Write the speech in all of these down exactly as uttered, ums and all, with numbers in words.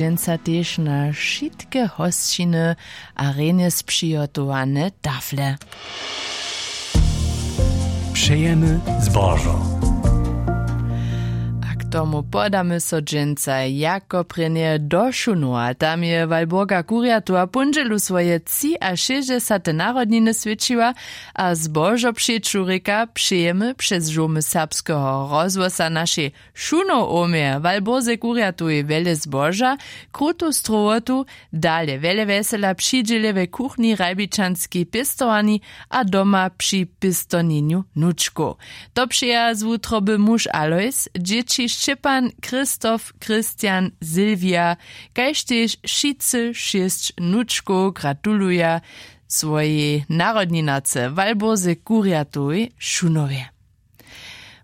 Dźensa tež na wšitke hosćiny a rjenje spřihotowane tafle. Přejemy zbožo. A k tomu podamy so dźensa jako prěnje do Šunowa. Tam je Walburga Kurjatowa póndźelu swoje třiašěsćdźesate narodniny swjećiła a zbožo přeću rěka přejemy přez žołmy serbskeho rozhłosa našej Šunow omje Walburze Kurjatowej wjele zboža, krutu strowotu, dale wjele wjesela při dźěle we kuchni, hrajbičanskej pěstowarni a doma při pěstowninju wnučkow. To přeja z wutroby muž Alojs, dźěći Šćepan, Christoph, Christian, Silvija, kaž tež wšitcy šěsć wnučkow gratuluja swojej narodninarce Walburze Kurjatowej w Šunowje.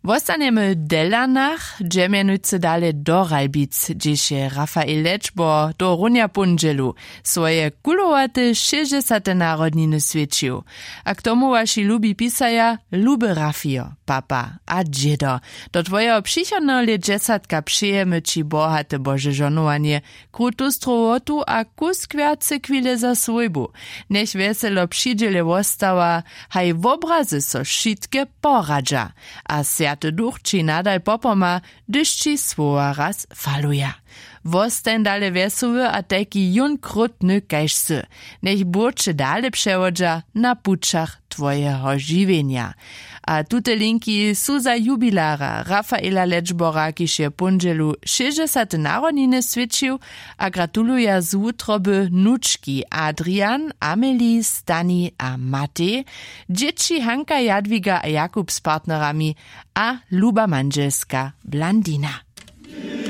Wostanjemy w Delanach, dźe mjenujcy dale do Ralbic, hdźež je Rafael Lečbor tohorunja póndźelu swoje kulowate šěsćdźesate narodniny swjećił. A k tomu waši lubi pisaja, luby Rafio, papa a dźědo, do twojeho přichodneho lětdźesatka přejemy ći bohate bože žonowanje, krutu strowotu a kusk wjace chwile za swójbu. Njech wjeselo při dźěle wostawa, haj wobrazy so wšitke poradźa. A swjaty duch ći nadal popomha, hdyž ći słowa raz faluja. Wostań dale wjesoły a tajki jón krótny kaž sy. Njech burće dale přewodźa na pućach twojeho žiwjenja. A tute linki su za jubilara Rafaela Lečbora, kiž je póndźelu šěsćdźesate narodniny swjećił, a gratuluja z wutroby wnučki Adrian, Amelie, Stani a Matej, dźěći Hanka, Jadwiga a Jakub z partnerami a luba mandźelska Blandina.